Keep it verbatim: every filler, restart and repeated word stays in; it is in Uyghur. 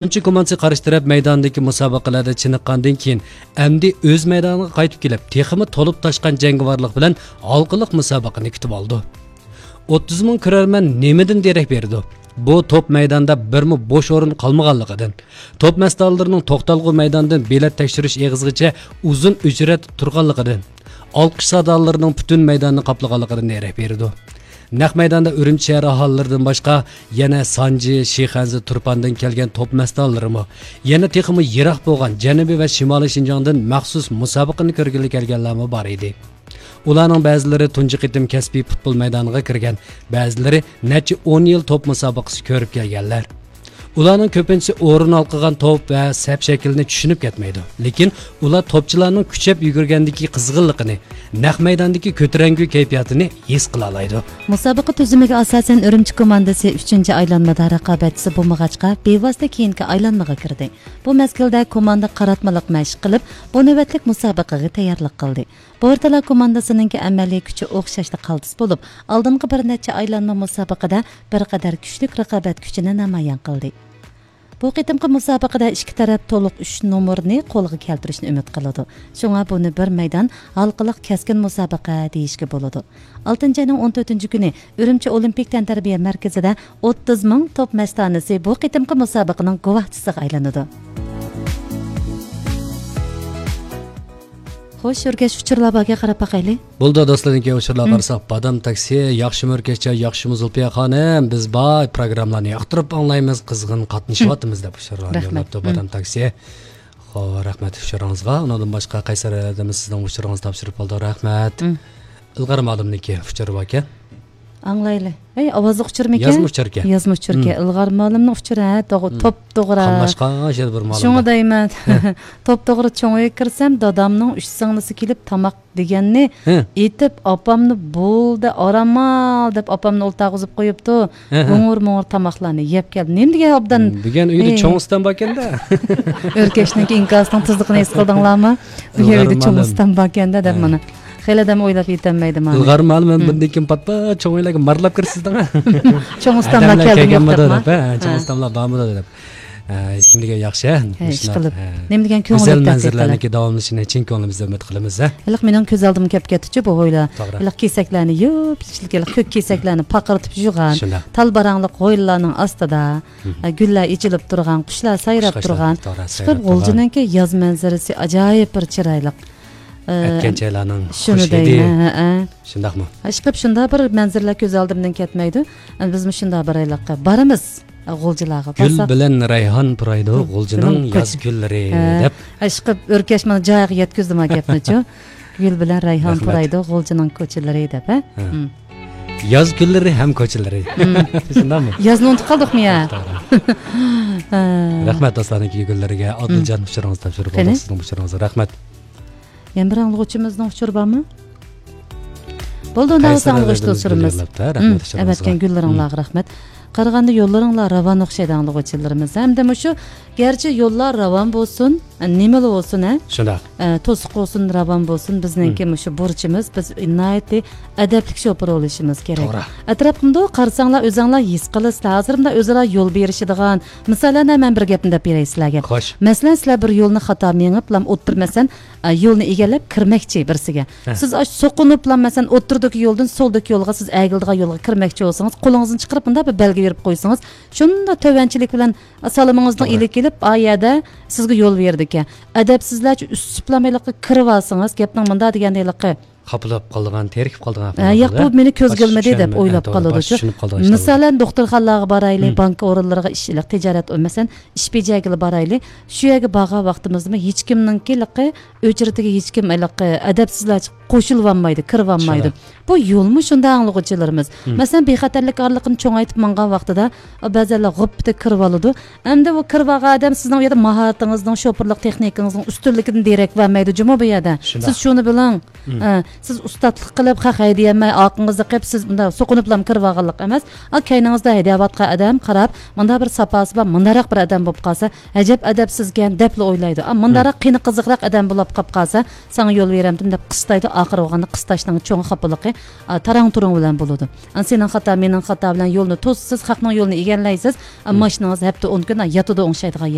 ئۈرۈمچى كوماندىسى قارشى تەرەپ مەيدانىدىكى مۇسابىقىلەردە چېنىققاندىن كېيىن، ئەمدى ئۆز مەيدانىغا قايتىپ كېلىپ، تېخىمۇ تولۇپ تاشقان جەڭگىۋارلىق بىلەن ھالقىلىق مۇسابىقىنى كۈتۈۋالىدۇ. ئوتتۇز مىڭ كۆرەرمەن نېمىدىن دېرەك بېرىدۇ؟ بۇ توپ مەيدانىدا بىرمۇ بوش ئورۇن قالمىغانلىقىدىن، توپ مەستانىلىرىنىڭ توختالغۇ مەيداندىن بېلەت تەكشۈرۈش ئېغىزىغىچە ئۇزۇن ئۆچرەتتە تۇرغانلىقىدىن، ئالقىش سادالىرىنىڭ پۈتۈن مەيداننى قاپلىغانلىقىدىن دېرەك بېرىدۇ. نەق مەيداندا ئۈرۈمچى شەھەر ئاھالىلىرىدىن باشقا، يەنە سانجى، شىخەنزە، تۇرپاندىن كەلگەن توپ مەستانىلىرىمۇ، يەنە تېخىمۇ يىراق بولغان جەنۇبىي ۋە شىمالىي شىنجاڭدىن مەخسۇس مۇسابىقىنى كۆرگىلى كەلگەنلەرمۇ بار ئىدى. ئۇلارنىڭ بەزىلىرى تۇنجى قېتىم كەسپىي پۇتبول مەيدانىغا كىرگەن، بەزىلىرى نەچچە ئون يىل توپ مۇسابىقىسى كۆرۈپ كەلگەنلەر. ئۇلارنىڭ كۆپىنچىسى ئورۇن ھالقىغان توپ ۋە سەپ شەكلىنى چۈشىنىپ كەتمەيدۇ. لېكىن ئۇلار توپچىلارنىڭ كۈچەپ يۈگۈرگەندىكى قىزغىنلىقىنى، نەق مەيداندىكى كۆتۈرەڭگۈ كەيپىياتىنى ھېس قىلالايدۇ. مۇسابىقە تۈزۈمىگە ئاساسەن، ئۈرۈمچى كوماندىسى ئۈچىنچى ئايلانمىدا رىقابەتچىسى بولمىغاچقا، بىۋاسىتە كېيىنكى ئايلانمىغا كىردى. بۇ مەزگىلدە كوماندا قاراتمىلىق مەشىق قىلىپ، بۇ نۆۋەتلىك مۇسابىقىگە تەييارلىق قىلدى. بورتالا كوماندىسىنىڭكى ئەمەلىي كۈچى ئوخشاشلا قالتىس بولۇپ، ئالدىنقى بىر نەچچە ئايلانما مۇسابىقىدە بىر قەدەر كۈچلۈك رىقابەت كۈچىنى نامايان قىلدى. بۇ قېتىمقى مۇسابىقىدە ئىككى تەرەپ تولۇق ئۈچ نومۇرنى قولغا كەلتۈرۈشنى ئۈمىد قىلىدۇ. شۇڭا بۇنى بىر مەيدان ھالقىلىق كەسكىن مۇسابىقە دېيىشكە بولىدۇ. ئالتىنچى ئاينىڭ ئون تۆتىنچى كۈنى ئۈرۈمچى ئولىمپىك تەنتەربىيە مەركىزىدە ئوتتۇز مىڭ توپ مەستانىسى بۇ قېتىمقى مۇسابىقىنىڭ گۇۋاھچىسىغا ئايلىنىدۇ. خوش، ئۆركەش ئۇچۇرلار باركەن، قاراپ باقايلى. بولدى، دوستلار، كېيىن ئۇچۇرلارغا قارىساق، بادام تاكسى، ياخشىمۇ ئۆركەشجان، ياخشىمۇ زۇلپىيە خانىم، بىز بار پروگراممىلارنى ياقتۇرۇپ ئاڭلايمىز، قىزغىن قاتنىشىۋاتىمىز دەپ ئۇچۇرلارنى يوللاپتۇ بادام تاكسى. خو، رەھمەت ئۇچۇرىڭىزغا. ئۇنىڭدىن باشقا قەيسەر ھەدەمىز سىزنىڭ ئۇچۇرىڭىزنى تاپشۇرۇپ قالدى، رەھمەت. ئىلغار مۇئەللىمنىڭكى ئۇچۇرى باركەن. ئاڭلايلى. ئەي، ئاۋازلىق ئۇچۇرمىكەن؟ يازما ئۇچۇركەن. يازما ئۇچۇركەن. ئىلغار مۇئەللىمنىڭ ئۇچۇرى، ھە، توغ-، توپ توغرا. قاملاشقان شەدە بىر مۇئەللىم. شۇڭا دەيمەن. توپ توغرا چوڭ ئۆيگە كىرسەم، دادامنىڭ ئۈچ سىڭلىسى كېلىپ تاماق دېگەننى ئېيتىپ، ئاپامنى بولدى، ئارام ئال دەپ، ئاپامنى ئولتۇرغۇزۇپ قويۇپتۇ. ھە، ھە. ھوڭۇر-موڭۇر تاماقلارنى يەپ كەلدى. نېمە دېگەن ئوبدان؟ دېگەن ئۆيدە چوڭ ئۇستام باركەن-دە. ئۆركەشنىڭكى ئىنكاسىنىڭ تېزلىقىنى ھېس قىلدىڭلارمۇ؟ بۇ يەردە چوڭ ئۇستام باركەن-دە دەپ مانا. خېلى ئادەم ئويلاپ يېتەلمەيدۇ مانا. ئىلغار مۇئەللىم، بۇندىن كېيىن پات-پات چوڭ ئۆيلەرگە مارىلاپ كىرىسىز دەڭ. چوڭ ئۇستاملار كەلدىمۇ يوق دەپ، ھە، چوڭ ئۇستاملار بارمىدۇ دەپ. ئە، نېمە دېگەن ياخشى، ھە؟ ھە، ئىشقىلىپ. نېمە دېگەن كۆڭۈل گۈزەل مەنزىرىلەرنىڭكى داۋاملىشىشىنى چىن كۆڭلىمىزدىن ئۈمىد قىلىمىز، ھە؟ ھېلىقى مېنىڭ كۆز ئالدىمغا كەپ كەتتىچۇ بۇ ھويلا. توغرا. ھېلىقى كېسەكلەرنى يۇيۇپ، ئىچىدىكى ھېلىقى كۆك كېسەكلەرنى پارقىرىتىپ يۇغان، شۇنداق. تال باراڭلىق ھويلىلارنىڭ ئاستىدا، ئە، گۈللەر ئېچىلىپ تۇرغان، قۇشلار سايراپ تۇرغان، توغرا، سايراپ تۇرغان. ئىشقىلىپ غۇلجىنىڭكى ياز مەنزىرىسى ئاجايىپ بىر چىرايلىق. ئەتكەنچايلارنىڭ شۇنى خۇش ھىدى. دەيمەن، ھەئە. شۇنداقمۇ؟ ئىشقىلىپ شۇنداق بىر مەنزىرىلەر كۆز ئالدىمدىن كەتمەيدۇ. بىزمۇ شۇنداق بىر ھېلىقى بارىمىز. غۇلجىلارغا گۈل بارساق. بىلەن رەيھان پۇرايدۇ، ھە، غۇلجىنىڭ ياز كۈنلىرى، ھە، دەپ. ئىشقىلىپ ئۆركەش مانا جايىغا يەتكۈزدىما گەپنىچۇ. گۈل بىلەن رەيھان پۇرايدۇ، غۇلجىنىڭ كوچىلىرى دەپ، ھە؟ ھە. ياز كۈنلىرى ھەم كوچىلىرى. شۇنداقمۇ؟ يازنى ئۇنتۇپ قالدۇقمۇ يا؟ توغرا. ھە. رەھمەت دوستلارنىڭكى گۈللىرىگە. ئادىلجان ئۇچۇرىڭىزنى تاپشۇرۇپ قالدۇق، سىزنىڭ ئۇچۇرىڭىزغا رەھمەت. يەنە بىر ئاڭلىغۇچىمىزنىڭ ئۇچۇرى بارمۇ؟ بولدى، ئۇنداق بولسا ئاڭلىغۇچى دوستلىرىمىز. رەھمەت ئۈچۈن ئەۋەتكەن گۈللىرىڭلارغا رەھمەت. قارىغاندا يوللىرىڭلار راۋان ئوخشايدۇ ئاڭلىغۇچىلىرىمىز. ھەمدە مۇشۇ، گەرچە يوللار راۋان بولسۇن، نېمىلا بولسۇن، ھە؟ شۇنداق. ئە، توسۇق بولسۇن، راۋان بولسۇن، بىزنىڭكى مۇشۇ بۇرچىمىز، بىز ناھايىتى ئەدەپلىك شوپۇر بولۇشىمىز كېرەك. توغرا. ئەتراپىمدا قارىساڭلار، ئۆزەڭلار ھېس قىلىسىلەر. ھازىر مۇنداق ئۆزئارا يول بېرىشىدىغان، مىسالەن، مەن بىر گەپنى دەپ بېرەي سىلەرگە. خوش. مەسىلەن، سىلەر بىر يولنى خاتا مېڭىپلا ئوتتۇرا، مەسىلەن، ئە، يولنى ئىگىلەپ كىرمەكچى بىرسىگە. ھە. سىز ئاشۇ سوقۇنۇپلا، مەسىلەن، ئوتتۇرىدىكى يولدىن سولدىكى يولغا سىز ئەگىلىدىغان يولغا كىرمەكچى بولسىڭىز، قولىڭىزنى چىقىرىپ مۇنداق بىر بەلگە بېرىپ قويسىڭىز، شۇنداق تۆۋەنچىلىك بىلەن سالىمىڭىزنى توغرا. ئېلىپ كېلىپ، ئا يەردە سىزگە يول بېرىدىكەن. ئەدەپسىزلەرچە ئۈستۈپلا ھېلىقى كىرىۋالسىڭىز، گەپنىڭ مۇنداق دېگەندە ھېلىقى خاپىلاپ قالىدىغان، تېرىكىپ قالىدىغان ھە، ياق، بۇ مېنى كۆزگە ئىلمىدى دەپ ئويلاپ قالىدۇ. مىسالەن، دوختۇرخانىلارغا بارايلى، بانكا ئورۇنلىرىغا ئىش، تىجارەت، مەسىلەن، ئىش بېجەرگىلى بارايلى. شۇ يەرگە بارغان ۋاقتىمىزدىمۇ ھېچكىمنىڭكى ھېلىقى ئۆچرىتىگە ھېچكىم ھېلىقى ئەدەپسىزلەرچە قوشۇلۇۋالمايدۇ، كىرىۋالمايدۇ. شۇنداق. بۇ يولمۇ شۇنداق ئاڭلىغۇچىلىرىمىز. مەسىلەن، بىخەتەرلىك ئارىلىقىنى چوڭايتىپ ماڭغان ۋاقتىدا، بەزەنلەر غۇپپىدە كىرىۋالىدۇ. ئەمدى ئۇ كىرىۋالغان ئادەم سىزنىڭ ئۇ يەردە ماھارىتىڭىزنىڭ، شوپۇرلۇق تېخنىكىڭىزنىڭ ئۈستۈنلۈكىدىن دېرەك بەرمەيدۇ جۇمۇ بۇ يەردە. شۇنداق. سىز شۇنى بىلىڭ. ئە، سىز ئۇستاتلىق قىلىپ، خەق ھەيدىيەلمەي، ئارقىڭىزدا قېلىپ، سىز مۇنداق سوقۇنۇپلا كىرىۋالغانلىق ئەمەس. ئا، كەينىڭىزدە ھەيدەۋاتقان ئادەم قاراپ، مۇنداق بىر ساپاسى بار، مۇنداقراق بىر ئادەم بولۇپ قالسا، ئەجەب ئەدەپسىزكەن دەپلا ئويلايدۇ. ئا، مۇنداقراق قېنى قىزىقراق ئادەم بولۇپ قاپ قالسا، ساڭا يول بېرەمدىم دەپ قىستايدۇ. ئاخىرى بولغاندا قىستاشنىڭ چوڭ خاپىلىقى، ئا، تاراڭ تۇرۇڭ بىلەن بولىدۇ. ئا، سېنىڭ خاتا، مېنىڭ خاتا بىلەن يولنى توسىسىز، خەقنىڭ يولىنى ئىگىلەيسىز. ئا، ماشىنىڭىز ھەپتە ئون كۈن، ئا، ياتىدۇ ئوڭشايدىغان يەر.